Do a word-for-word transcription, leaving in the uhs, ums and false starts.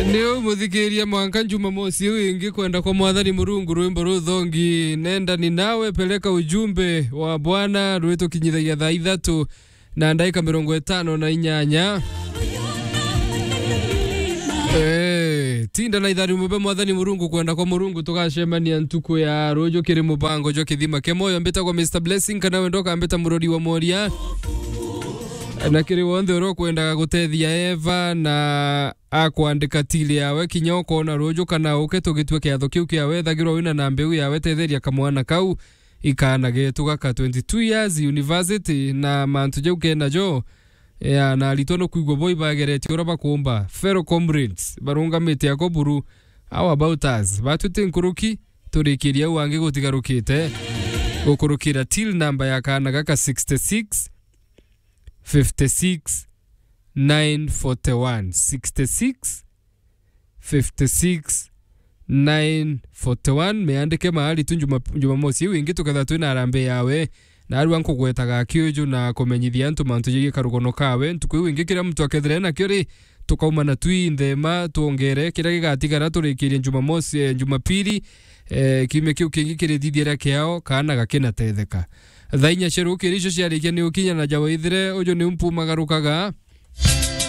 Ni u muthikiria, mwanka Jumamosi iu ingi, kwenda kwa Mwathani Murungu, rwimbo ruthongi, nenda ni nawe, peleka ujumbe wa Bwana, rwitukinyithagia thaa ithatu na ndaika mirongo itano na inyanya. Eh, tinda na ithari mube Mwathani Murungu, kwenda kwa Murungu, tugacemania ntuku ya ruju kiri mubango jwa Kithima kia Moyo. Mbitagwa Mister Blessing, kana wenda ukambita Murori wa Moria. Na kiri wonthe uria ukwendaga gutethia Eva na akwandika tili yawe, kinya ukona ruju kana uke tugitue kiatho kiu kiawe, ethagirwa wina na mbeu yawe, tetheria kamwana kau, ikaana getu gaka twenty-two years, university na mantu jau kenajo. Ya, na aritwa nukwigua bo ibageretie uria bakumba. Fellow comrades, barungamite ako buru, how about us? Batwite nkuruki, turikirie au angi gutigarukite. Gukurukira till number ya kaana gaka sixty-six, fifty-six, nine forty-one. Sixty-six, fifty-six, nine forty-one. Meandike mahali tu Juma-, Jumamosi iu ingi tuketha twina harambee yawe. Narua nkugwetaga akiuju na kumenyithia antu mantu jegie karugono kawe. Ntuku iu ingi kiria muntu akethire nakio ri, tukaumana twi nthema, twongere kiria gigatigara turikirie Jumamosi, eh, Jumapili, eh, kiumia kiu kingi kirithithiria kiao, kaana gakinatetheka. Thaa inya cia rukiri icio ciarikia ni ukinya na jawa ithire, uju ni umpumagarukaga.